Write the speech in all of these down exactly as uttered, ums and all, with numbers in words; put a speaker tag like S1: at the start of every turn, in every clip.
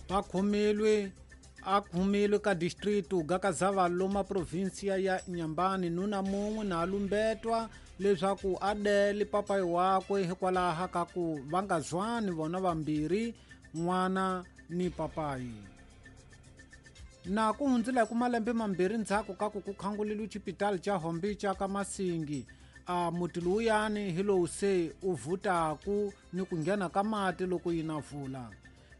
S1: Va khomilwe a khomilwe ka distrito ga Kazava loma provinsia ya Inhambane nuna mun'we na lumbetwa leswaku a dele papayi wakwe hikwalaho ka ku va nga zwani vona vambirhi n'wana ni papayi. Na ku hundzile ku malembe mambirhi ndzhaku ka ku ku khanguleliwe xipitali xa Hombi xa ka Masingi a muti lowuyani hi lowu se u vhutaku ni ku nghena ka mati loko yi na vula.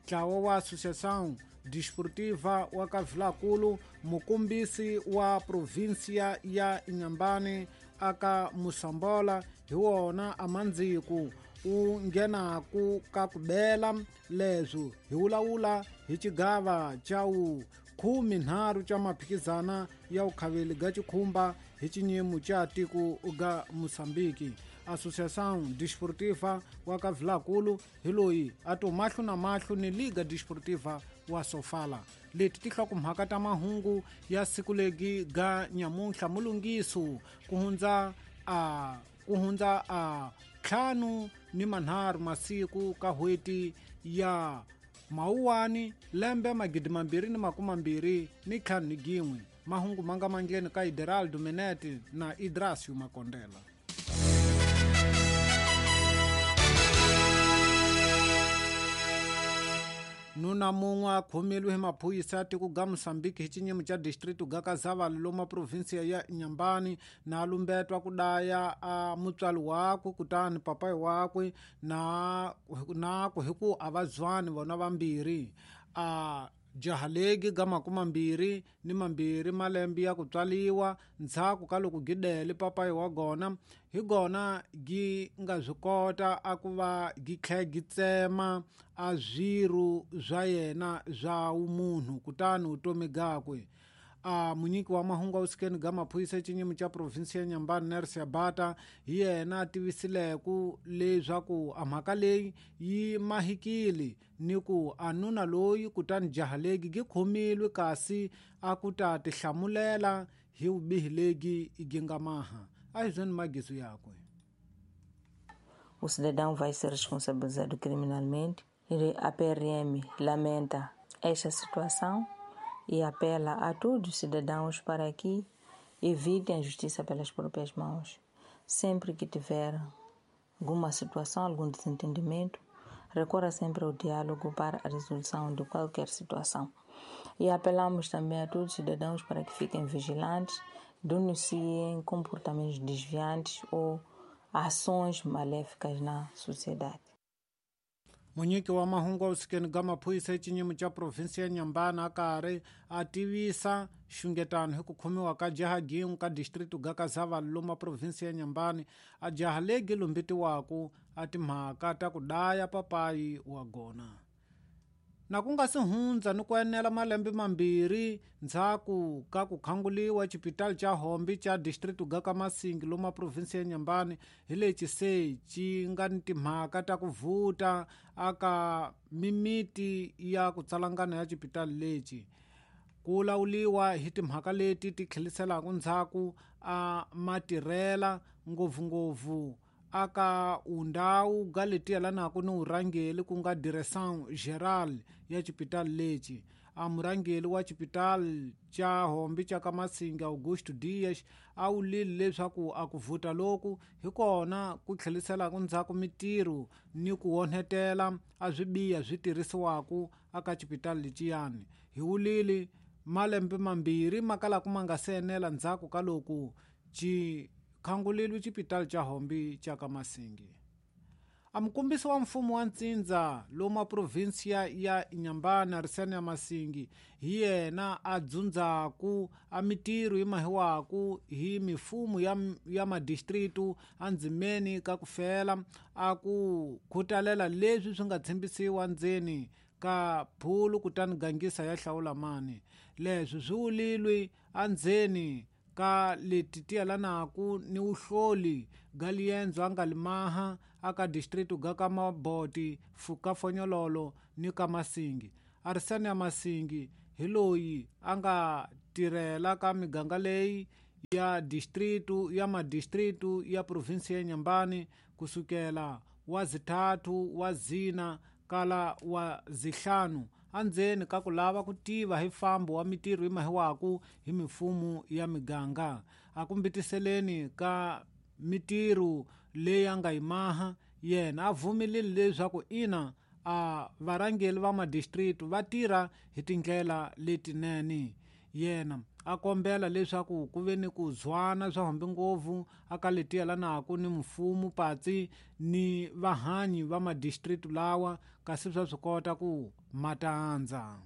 S1: Ntlawa wa Associação Desportiva wa ka Vilakulu mukombisi wa provinsia ya Inhambane aka Moçambola hi wona amandziku u nghenaku ka ku bela leswo hi wulawula hi xigava xa wu khume nharhu xa maphikizana ya vukhaveli ga xikhumba hi xinyimo xa tiko ga Moçambique. Associação Desportiva wa ka Vilakulu hi loyi a to mahlo na mahlo ni Liga Desportiva wa Sofala. Leti ti hlokomhaka ta mahungu ya siku legi ga nyamuntlha mulungiso ku hundza a ku hundza a ntlhanu ni manharhu masiku ka hweti ya Mawuwani lembe magidi mambirhi ni makume mambirhi ni ntlhanu ni gin'we. Mahungu ma nga mandleni ka Ideraldo Menete na Idrasio Makondela. Nuna mun'we a khomeliwe hi maphorisa ya tiko ga Moçambique hi xinyimo xa distrito ga Kazava loma provinsia ya Inhambane na lumbetwa ku daya a mutswari wakwe kutani papayi wakwe na na ku hi ku a va zwani vona vambirhi. A jaha legi ga makume mambirhi ni mambirhi malembe ya ku tswaliwa ndzhaku ka loko gidele papayi wa gona hi gona gi nga swi kota a ku va gi tlhe gi tsema a swirho swa yena swa vumunhu kutani vutomi gakwe. A munyiki wa mahungu awusikeni ga maphorisa xinyimo xa provinsia ya Inhambane Nersia Bata hi yena a tivisileku leswaku a mhaka leyi yi mahikile ni ku a nuna loyi kutani jaha legi gi khomilwe kasi a ku ta tihlamulela hi vubihi legi gi nga maha. A hi byeni magiso yakwe.
S2: O cidadão vai ser responsabilizado criminalmente. A P R M lamenta esta situação e apela a todos os cidadãos para que evitem a justiça pelas próprias mãos. Sempre que tiver alguma situação, algum desentendimento, recorra sempre ao diálogo para a resolução de qualquer situação. E apelamos também a todos os cidadãos para que fiquem vigilantes, denunciem comportamentos desviantes ou ações maléficas na sociedade.
S1: Munyiki wa mahungu awusikeni ga maphorisa xinyimo xa provinsia ya Inhambane a karhi a tivisa xungetano hi ku khomiwa ka jaha gin'we ka distrito ga Kazava loma provinsia ya Inhambane a jaha legi lumbetiwaku a timhaka ta ku daya papayi wa gona. Na ku nga si hundza ni ku enela malembe mambirhi ndzhaku ka ku khanguliwa xipitali xa Hombi xa distrito ga ka Masingi loma provinsia ya Inhambane hi lexi se xi nga ni timhaka ta ku vhuta aka mimiti ya ku tsalangana ya xipitali lexi. Ku lawuliwa hi timhaka leti ti tlheliselaka ndzhaku a matirhela ngopfungopfu aka undhawu ga leti yelanaka ni vurhangeri ku nga Direção Geral ya xipitali lexi. A murhangeri wa xipitali xa Hombi xa ka Masingi Augusto Dias a wulile leswaku a ku vhuta loku hi kona ku tlheliselaka ndzhaku mitirho ni ku onhetela a swibiha swi tirhisiwaku aka xipitali lexiyani. Hi wulile malembe mambirhi ma kalaka ma nga se enela ndzhaku ka loko xi khanguleliwe xipitali xa Hombi xa ka Masingi. A mukombisi wa mfumo wa ntsindza loma provinsia ya Inhambane Arsênio Masingi hi yena a dzundzaku a mitirho yi mahiwaku hi mifumo ya, ya madistritu endzimeni ka ku fela a ku khutalela leswi swi nga tshembisiwa ndzeni ka phulu kutani gangisa ya hlawula mani. Leswi swi wulilwe endzeni ka leti ti yelanaka ni vuhloli ga liendzo a nga limaha aka distrito ga ka Maboti ka Fonyololo ni ka Masingi. Arsênio Masingi hi loyi a nga tirhela ka miganga leyi ya distrito ya madistrito ya provinsia ya Inhambane kusukela wa zithathu wa zina kala wa zihlanu andzeni ka ku lava ku tiva hi fambo wa mitirho yi mahiwaku hi mifumo ya miganga. A ku mbitiseleni ka mitirho leyi a nga yi maha yena a vumelile leswaku ina a varhangeri va madistrict va tirha hi tindlela letinene. Yena a kombela leswaku ku ve ni ku zwana swa hambi ngopfu aka leti yelanaka ni mfumo patsi ni vahanyi va madistrict lawa kasi swa swi kota ku matandza.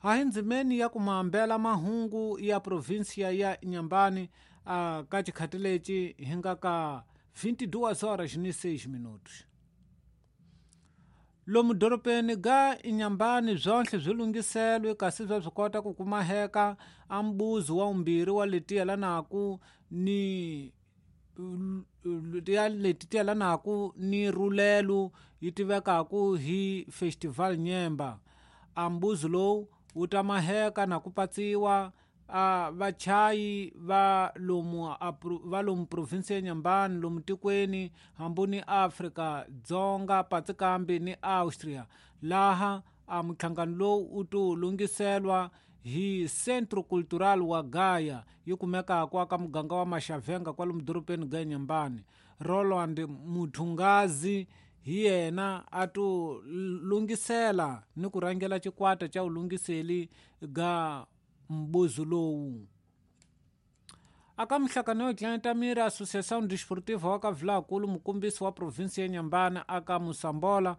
S1: A hi ndzimeni ya ku maambela mahungu ya provinsia ya Inhambane a ka xikhati lexi hi nga ka vinte e duas horas ni seis minutos. Lomu dorobeni ga Inhambane swonhle swi lunghiselwe kasi swa swi kota ku kumaheka a mbuzi wa vumbirhi wa leti yelanaka ni ya leti ti yelanaka ni rulelo yi tivekaku hi Festival Nyemba. A mbuzi lowu wu ta maheka na ku patsiwa a vachayi va lomu va lomu province ya Inhambane lomu tikweni hambi ni Afrika Dzonga patsi kambe ni Austria laha a muhlangano lowu wu to lunghiselwa hi Centro Cultural wa Gaia yi kumekaka aka muganga wa Maxavenga kwalomu dorobeni ga Inhambane. Roland Muthungazi hi yena a to lunghisela ni ku rhangela xikwata xa vulunghiseli ga mbuzi lowu. Aka mihlangano yo tlangeta miri Associação Desportiva wa ka Vilakulu mukombisi wa provinsi ya Inhambane aka Mosambola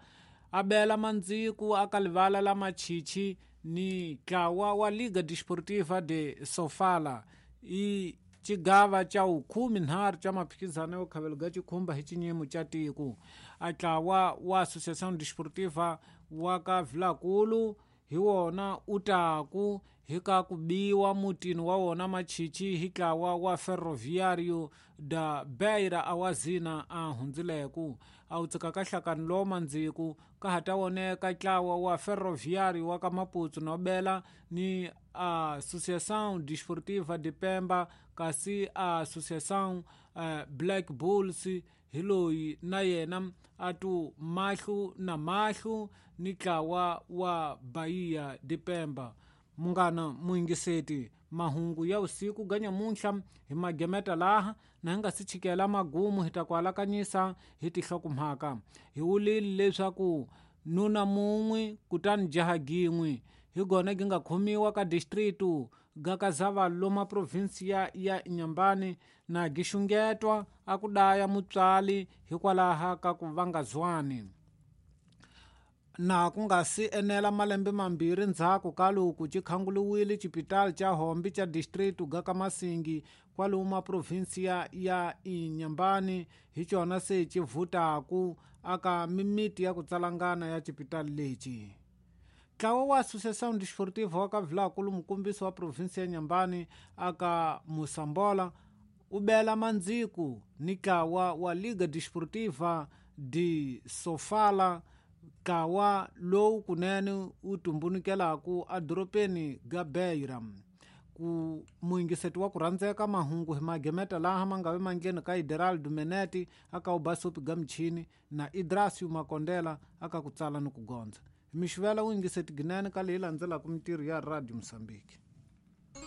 S1: a bela mandziku aka livala la Machichi ni ntlawa wa Liga Desportiva de Sofala i xigava xa vukhume nharhu xa maphikizano yo khavelo ga xikhumba hi xinyimo xa tiko. A ntlawa wa Associação Desportiva wa ka Vilakulu hi wona u taku hi ka ku biwa mutini wa wona Machichi hi ntlawa wa Ferroviário da Beira a wa zina a hundzileku. A wu tshikaka nhlakano lowu mandziku ka ha ta voneka ntlawa wa Ferroviário wa ka Maputo no bela ni Associação Desportiva de Pemba kasi Associação uh, Black Bulls hi loyi na yena a tu mahlu na mahlu ni ntlawa wa Bahia de Pemba. Munghana muyingiseti, mahungu ya usiku ga nyamuntlha hi magemeta laha na hi nga si chikela magumu hi ta ku alakanyisa hi tinhlokomhaka. Hi wulile leswaku nuna mun'we kutani jaha gin'we hi gona gi nga khomiwa ka district ga Kazava loma provinsia ya Inhambane na gi xungetwa a ku daya mutswali hikwalaho ka ku va nga zwani. Na ku nga si enela malembe mambirhi ndzhaku ka loko xi khanguliwile xipitali xa Hombi xa district ga ka Masingi kwalomu provinsia ya Inhambane hi xona se xi vhutaku aka mimiti ya ku tsalangana ya xipitali lexi. Ntlawa wa Associação Desportiva wa ka Vilakulu mukombisi wa provinsia ya Inhambane aka Mosambola u bela mandziku ni ntlawa wa Liga Desportiva de Sofala ntlawa lowu kunene wu tumbulukelaku edorobeni ga Beira. Ku muyingiseti wa ku rhandzeka mahungu hi magemeta laha ma nga ve mandleni ka Ideraldo Meneti aka Ubasopi ga michini na Idrasio Makondela aka ku tsala ni ku gondza. Mixivela wu yingiseti ginene ka leyi landzelaka mitirho ya Radio Mozambique.